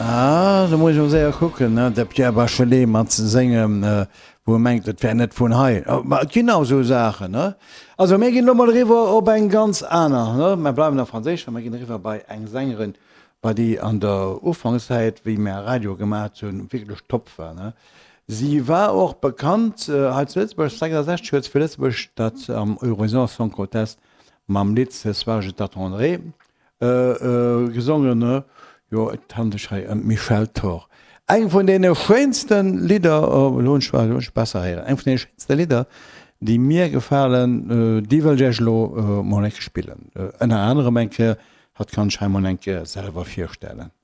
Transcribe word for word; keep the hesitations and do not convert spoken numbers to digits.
Ah, do muss ech mol séier kucken, ne, de Pierre Bachelet mat sengem, wou e mengt, et wär net vun hei. Ma et ginn auch esou Saachen, ne? Also mir ginn elo mol eriwwer op eng ganz aner, ne? Mer bleiwen am Franséischen, mer ginn eriwwer bei eng Sängerin, bei déi an der Ufankszäit, wéi mer Radio gemaacht hunn, wierklech top war, ne? Si war och bekannt hei zu Lëtzebuerg, sechsundsechzeg huet se fir Lëtzebuerg dat am Eurovision Song Contest mam Lidd Ce soir je t'attendrai gesongen. Jo, et handelt sech hei ëm d'Michèle Thor. Eng vun deene schéinste Lidder, elo hunn ech elo hunn ech besser héieren, eng vun deene schéinste Lidder, déi mir gefalen, déi wëll ech Iech elo mol eng Kéier spillen. Ënner anerem eng Kéier, hatt kann sech hei mol eng Kéier selwer virstellen.